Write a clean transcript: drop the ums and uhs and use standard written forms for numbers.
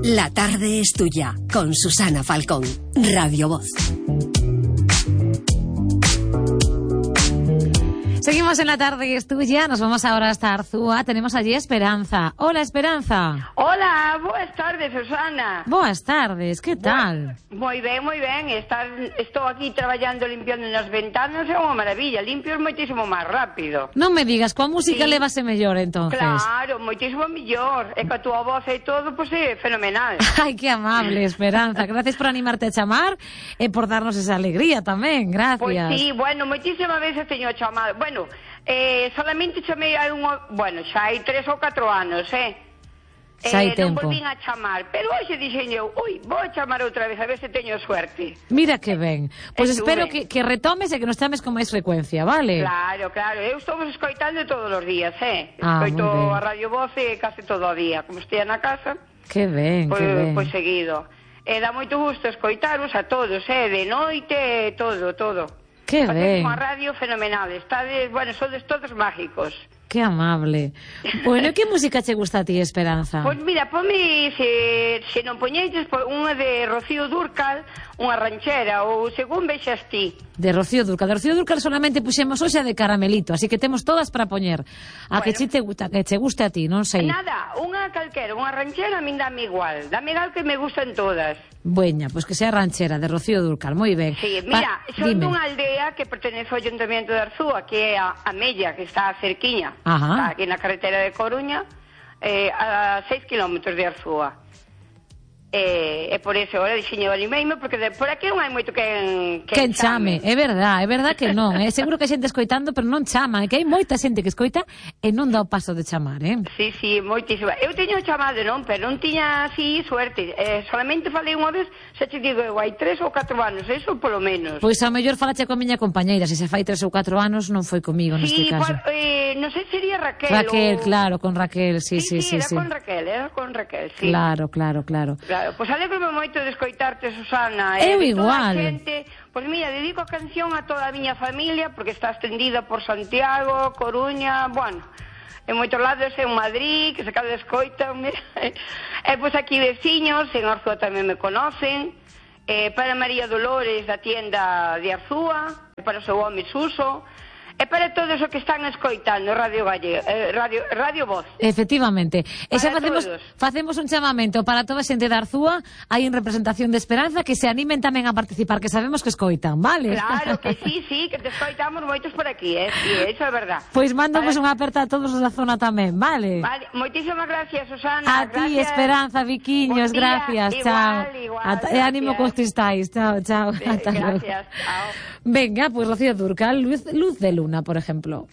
La tarde es tuya, con Susana Falcón, Radio Voz. Seguimos en La tarde es tuya, nos vamos ahora hasta Arzúa, tenemos allí a Esperanza. Hola, Esperanza. Hola, boas tardes, Susana. Boas tardes, que tal? Moi ben, estou aquí traballando limpiando nas ventanas, é unha maravilla, limpio moitísimo máis rápido. Non me digas, coa música Sí. levase mellor, entonces. Claro, moitísimo mellor, e coa túa voz e todo, pois é fenomenal. Ai, que amable, Esperanza, gracias por animarte a chamar e por darnos esa alegría tamén, gracias. Pois sí, bueno, moitísimas veces teño chamado, solamente chamei hai xa hai 3 ou 4 anos, Xa hai non tempo. volvín a chamar, pero hoxe dixen eu, vou a chamar outra vez, a ver se teño suerte. Mira que ben. Pois espero Estuve. que retomes e que nos chames con máis frecuencia, vale? Claro, eu estou escoitando todos os días, Ah, escoito moi ben. a Radio Voz case todo o día, como estea na casa, Que ben, que ben. pois seguido. E dá moito gusto escoitaros a todos, de noite, todo. Que Facedes ben. unha radio fenomenal, sodes todos mágicos. Que amable. Bueno, que música che gusta a ti, Esperanza? Pois mira, ponme, se non poñeches, unha de Rocío Dúrcal, unha ranchera, ou según vexas ti. De Rocío Dúrcal. De Rocío Dúrcal solamente puxemos hoxe a de Caramelito, así que temos todas para poñer. A que che guste a ti, non sei. Nada, unha calquera, unha ranchera, a min dame igual que me gustan todas. Bueña, pois que sea ranchera, de Rocío Dúrcal, moi ben. Sí, mira, son dime. dunha aldea que pertenece ao Ayuntamiento de Arzúa, que é a Mella, que está cerquiña, Ajá. está aquí na carretera de Coruña, a 6 kilómetros de Arzúa. E por eso ahora diseño animeime, porque por aquí non hai moito Quen chame, é verdad que non, seguro que hai xente escoitando, pero non chama, é que hai moita xente que escoita e non dá o paso de chamar, Sí, moitísima. Eu teño chamado, non, pero non tiña así suerte. Solamente falei unha vez, xa te digo, hai 3 ou 4 anos, eso polo menos. Pois a mellor falache coa miña compañeira, se fai 3 ou 4 anos non foi comigo neste caso. Non sei se sería Raquel. Raquel, claro, con Raquel, sí. Era con Raquel, sí. Claro. Pois alegro-me moito de escoitarte, Susana. Eu de igual. Toda a xente, pois mira, dedico a canción a toda a miña familia, porque está extendida por Santiago, Coruña, en moitos lados, en Madrid, que se cada escoitan, mira. E pois aquí veciños, en Arzúa tamén me conocen, para María Dolores da tienda de Arzúa, para o seu home Suso, e para todos os que están escoitando Radio Voz. Efectivamente. E xa Para facemos un chamamento para toda a xente de Arzúa, aí en representación de Esperanza, que se animen tamén a participar, que sabemos que escoitan, vale? Claro que sí, que te escoitamos moitos por aquí, sí, eso é verdad. Pois mandamos unha aperta a todos os da zona tamén, vale? Vale, moitísimas gracias, Susana. A ti, Esperanza, Viquiños, Buen día. gracias, Igual, chao. E ánimo cos cristais, chao. Ata logo. Gracias, chao. Venga, pues Rocío Dúrcal, Luz de Luna, por ejemplo.